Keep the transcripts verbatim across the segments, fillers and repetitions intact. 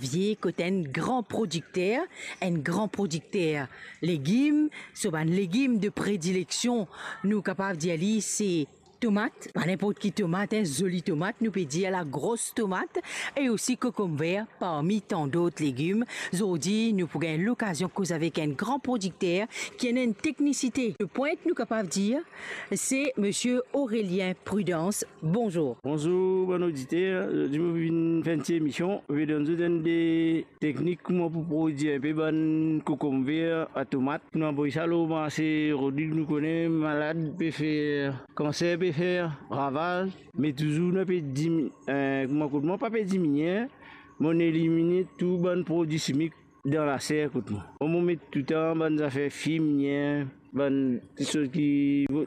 Vie kot enn gran prodikter, enn gran prodikter legim. So bann legim de predileksion, nou kapav dir li, se tomat, pa ninport ki tomat, enn zoli tomat, nou pe dir lagros tomat, e osi kokomver, parmi tan dot legim. Zordi, nou pou gagn lokazion koz avek enn gran prodikter ki ena enn teknisite de pwint, nou kapav dir, se Misie Aurélien Prudence. Bonzour. Bonzour, bann oditer. Zordi, mo vinn fer enn ti emision, mo pe donn zot enn de teknik kouma pou prodwir enpe bann kokomver a tomat. Pou nou avoy sa lor marse, Rodrig, nou kone malad pe fer, kanser pe fer ravaz, me touzour nou pe dimi-, eh, kouma kot mwa pa pe diminie, mo elimine tou bann prodwi simik dan laser kot mwa. Mo met toutan bann zafer fimie, bann kiksoz ki vo-,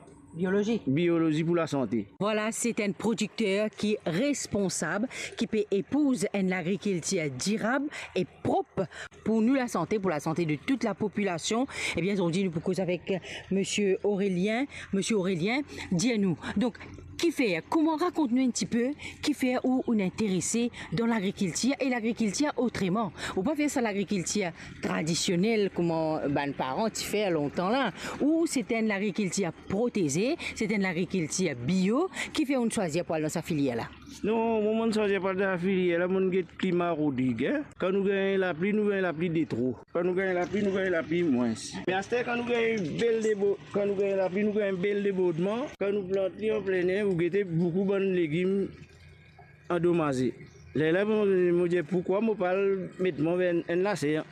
biolozi pou lasante. Vwala, se enn prodikter ki responsab, ki pe epouz enn lagrikiltir dirab e prop pou nou lasante, pou lasante de tout lapopilasion. Ebien, zordi nou pou koz avek Misie Aurélien. Misie Aurélien, dir nou, donk, kifer, kouma, rakont nou enn tipe, kifer ou, ou interese dan lagrikiltir e lagrikiltir otreman. Ou pa fer sa lagrikiltir tradisionel kouma bann paran ti fer lontan la, ou se enn lagrikiltir proteze, se enn lagrikiltir bio, kifer ou swazir pou al dan sa filier la? Non, mo, mo swazir pou al dan sa filier la, mo get klima Rodrig, en. Kan nou gagn lapli, nou gagn lapli de tro. Kan nou gagn lapli, nou gagn lapli mwins. Me aster, kan nou gagn bel debo-, kan nou gagn lapli, nou gagn bel debordman. Kan nou plant li an plener, ou gete boukou bann legim andomaze. Lerla mo, mo dir, poukwa mo pa al met mwa ver enn, enn laser?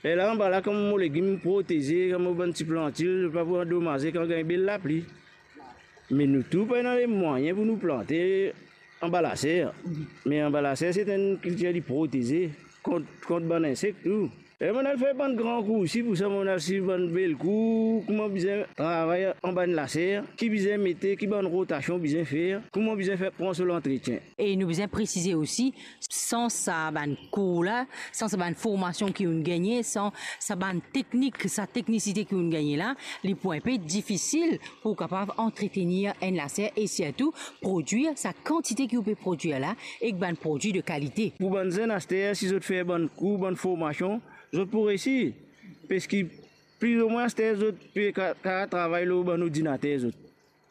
Lerla anba la, kan mo legim proteze, kan mo bann ti plantil, pa pou andomaze kan gagn bel lapli. Me nou tou pa ena lemwayin pou nou plante anba laser. Me anba laser, se enn kiltir li proteze kont, kont bann insek tou. E mo al fer bann gran kour isi, pou sa mo al swiv bann bel kour, kouma bizin travay anba enn laser, ki bizin mete, ki bann rotasion bizin fer, kouma bizin fer pran so lantretien. E nou bizin presize osi, san sa bann kour la, san sa bann formasion ki ou'nn gagne, san sa bann teknik, sa teknisite ki ou'nn gagne la, li pou inpe difisil pou kapav antretenir enn laser e sirtou prodwir sa kantite ki ou pe prodwir la ek bann prodwi de kalite. Pou bann zenn aster, si zot fer bann kour, bann formasion, zot pou resi. Parski pli ou mwin aster zot pe ka, ka travay lor bann ordinater zot.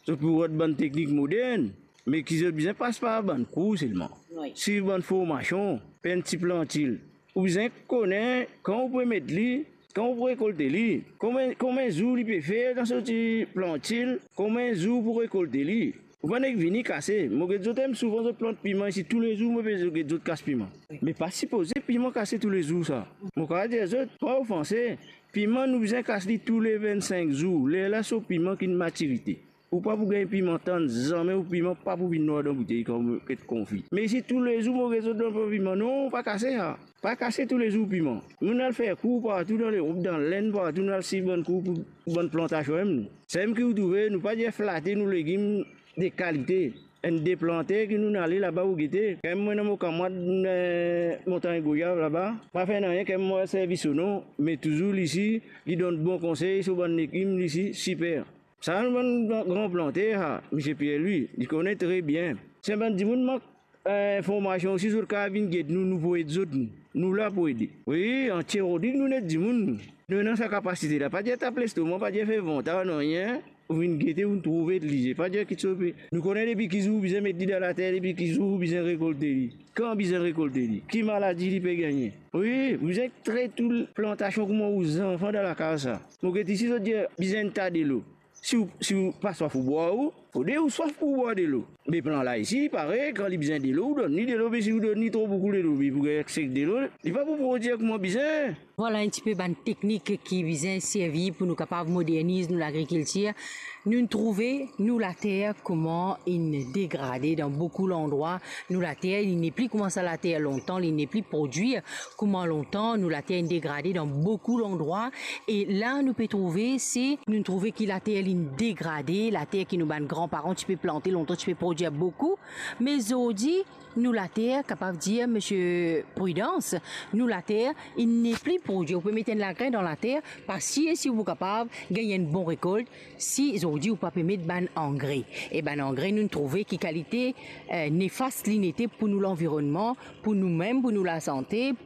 Zot pou rod bann teknik modern, me ki zot bizin pas par bann kour selman. Wi. Swiv bann formasion, fer enn ti plantil. Ou bizin kone kan ou pou met li, kan ou pou rekolte li, konbien, konbien zour li pe fer dan so ti plantil, konbien zour pou rekolte li. Ou pa nek vini kase. Mo get zot, em, souvan zot plant piman isi, toulezour mo pe get zot kas piman. Me pa sipoze piman kase toulezour sa. Mo kapav dir zot, pa ofanse, piman nou bizin kas li toule vennsink zour, lerla so piman ki ena matirite. Ou pa pou gagn piman tann zame, ou piman pa pou vinn nwar dan boutey kan ou get konfi. Me isi toulezour mo get zot dan piman, non, pa kase sa. Pa kase toulezour piman. Nou'nn al fer kour partou dan Lerop, dan Lenn, partou nou'nn al swiv bann kour pou, pou bann plantasion, em, nou. Samem ki ou trouve, nou pa dir flate nou legim de kalite. Enn de planter ki nou'nn ale laba ou gete. Kan mwa ena mo kamarad, eh, Montagne Goyav laba, pa fer nanye, kan mwa servi so non, me touzour li isi, li donn bon konsey, so bann legim li isi, siper. Sa nou bann gran, gran planter sa, Misie Pierre Louis, li kone tre bien. Si bann dimoun mank, eh, formasion osi, zot kapav vinn get nou, nou pou ed zot, nou. Nou la pou ede. Wi, antie Rodrig nou ena dimoun nou. Nou ena sa kapasite la. Pa dir tap lestoman, pa dir fer vantar, nanye. Ou vinn gete, ou trouve li, pa dir kiksoz pe. Nou kone depi ki zour ou bizin met li dan later, depi ki zour ou bizin rekolte li. Kan bizin rekolte li. Ki maladi li pe gagne. Wi, ou bizin tret ou plantasion kouma ou zanfan dan lakaz sa. Mo get isi zot dir bizin enn ta delo. Si ou, si ou pa swaf ou bwar ou, fode ou swaf pou bwar delo. Me plant la isi, li pare, kan li bizin delo, ou donn li delo, me si ou donn li tro boukou delo, li pou gagn sek delo, li pa pou prodwir kouma bizin. Vwala enn tipe bann teknik ki bizin servi pou nou kapav moderniz nou lagrikiltir. Nou'nn trouve nou later kouma inn degrade dan boukou landrwa. Nou later, li nepli kouma sa later lontan, li nepli prodwir kouma lontan, nou later inn degrade dan boukou landrwa. E la nou pe trouve, se, nou trouve ki later li'nn degrade, later ki nou bann granparan ti pe plante lontan, ti pe prodwir boukou. Me zordi, nou later, kapav dir, Misie Prudence, nou later, li nepli prodwir. Ou pe met enn lagrin dan later, pa sir si ou pou kapav gagn enn bon rekolt, si zordi ou pa pe met bann angre. E bann angre, nou'nn trouve ki kalite, eh, nefas li ete pou nou lanvironnman, pou noumem, pou nou lasante,